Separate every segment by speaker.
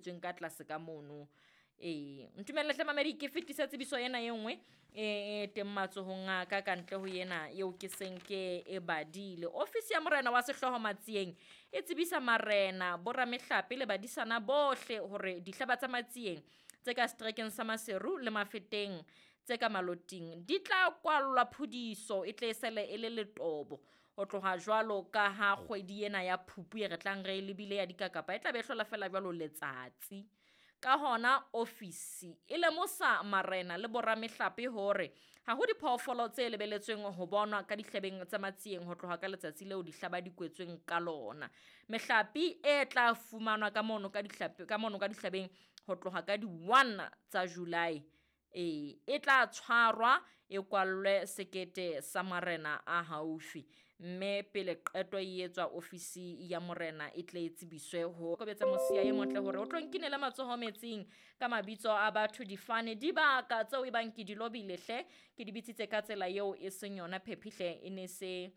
Speaker 1: Tsweng ka tlase ka mono. Ee, ntumelle hle mamedi ke fetise tsebiso ena e nngwe e teng matsohong a ka ka ntle ho ena eo ke seng ke e badile. Ofisi ya morena wa sehlooho Matsieng e tsebisa marena, boramehlape le badisana bohle hore dihlaba tsa Matsieng tse ka seterekeng sa Maseru le Mafeteng tse ka Maloting di tla kwallwa phudiso e tle e sele e le letobo ho tloha jwalo ka ha kgwedi ena ya Phupu e re tlang re e lebile ya dikakapa e tla be e hlola fela jwalo letsatsi. Ka hona ofisi e lemosa marena le boramehlape hore ha ho diphoofolo tse lebeletsweng ho bonwa ka dihlabeng tsa Matsieng ho tloha ka letsatsi leo dihlaba di kwetsweng ka lona. Mehlape e tla fumanwa ka mono ka dihlape ka mono ka dihlabeng ho tloha ka di-1 tsa July. Ee, e tla tshwarwa e kwallwe sekete sa marena a haufi mme pele qeto e etswa ofisi ya morena e tle e tsebiswe ho kobetsa mosia e motle hore o tlo nkinele matsoho metsing ka mabitso a batho difane dibaka tseo e bang ke di lobile hle ke di bitsitse ka tsela eo e seng yona phephi hle e ne se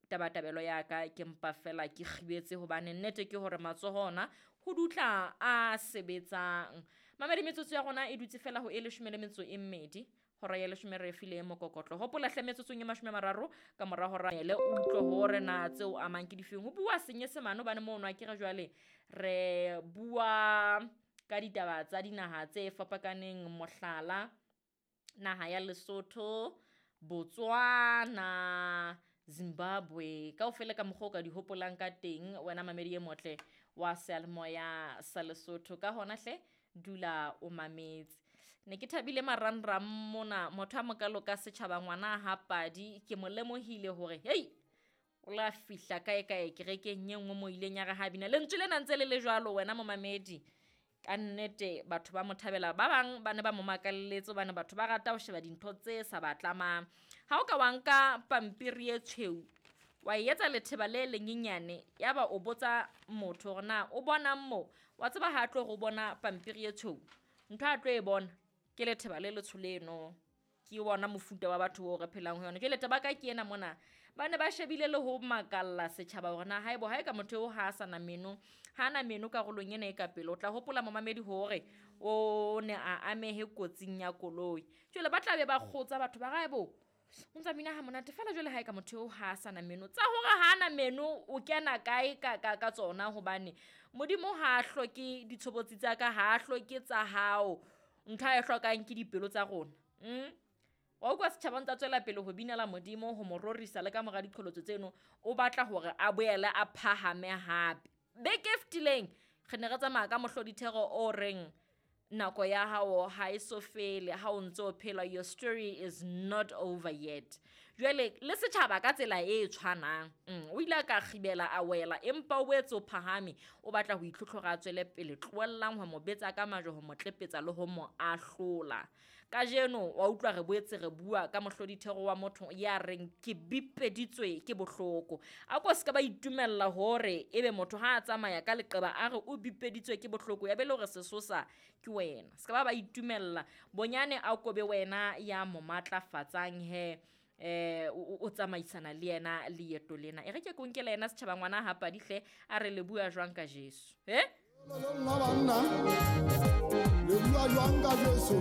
Speaker 1: tabatabelo ya ka ke mpa fela ke kgibetse hobane nnete ke hore matsoho ona ho dutla a sebetsang. Mamedi metsotso ya rona e dutse fela ho e leshome le metso e mmedi hora ya leshome re file mokokotlo. Hopola hle metsotsong e 30 ka mora hora ele o utlwe hore na tseo amang ke difeng. Ho bua Senyesemane hobane mono akere jwale re bua ka ditaba tsa dinaha tse fapakaneng mohlala naha ya Lesotho, Botswana, Zimbabwe kaofela ka mokgwa o ka di hopolang ka teng wena mamedi e motle wa seyalemoya sa Lesotho. Ka hona hle dula o mametse. Ne ke thabile marangrang mona motho a mokalo ka setjhaba ngwana ha padi ke mo lemohile hore hei o la fihla kae kae kerekeng e nngwe mo ileng ya re ha bina lentswe lena ntse le le jwalo wena momamedi. Ka nnete batho ba mo thabela ba bang ba ne ba mo makalletse hobane batho ba rata ho sheba dintho tse sa ba tlamang. Ha o ka wa nka pampiri e tshweu wa e etsa letheba le lenyenyane yaba o botsa motho hore na o bonang mo, wa tseba ha tlo re o bona pampiri e tshweu ntho a tlo e bona ke letheba le letsho leno. Ke ona mofuta wa batho oo re phelang ho yona. Jwale taba ka ke ena mona ba ne ba shebile le ho makalla setjhaba hore na haebo ha e ka motho eo ha a sana meno, ha ana meno karolong ena e ka pele o tla hopola momamedi hore o ne a amehe kotsing ya koloi. Jwale ba tla be ba kgotsa batho ba re haebo o ntsa bina ha monate fela jwale ha e ka motho eo ha a sana meno. Tsa hore ha ana meno o kena kae ka tsona hobane Modimo ha a hloke ditshobotsi tsa ka, ha a hloke tsa hao. Ntho a e hlokang ke dipelo tsa rona. Wa utlwa setjhaba ntsa tswela pele ho binela Modimo ho mo rorisa le ka mora diqholotso tseno o batla hore a boele a phahame hape. Beke e fetileng re ne re tsamaya ka mohlodithero o reng nako ya hao ha e so fele ha o ntso phela, your story is not over yet. Jwale le setjhaba ka tsela e tshwanang o ile a ka kgibela a wela empa o boetse o phahame o batla ho itlhotlhora a tswele pele. Tlohellang ho mo betsa ka majwe, ho mo tlepetsa le ho mo ahlola. Kajeno wa utlwa re boetse re bua ka mohlodithero wa motho ya reng ke bipeditswe ke bohloko. A ko se ka ba itumella hore ebe motho ha a tsamaya ka leqeba a re o bipeditswe ke bohloko ya be le hore sesosa ke wena. Se ka ba itumella bonyane a kobe wena ya mo matlafatsang he o tsamaisana le yena leeto lena. E re ke ko nkele yena setjhaba ngwana ha padi hle a re le bua jwang ka Jesu.
Speaker 2: Le bua jwang ka Jesu?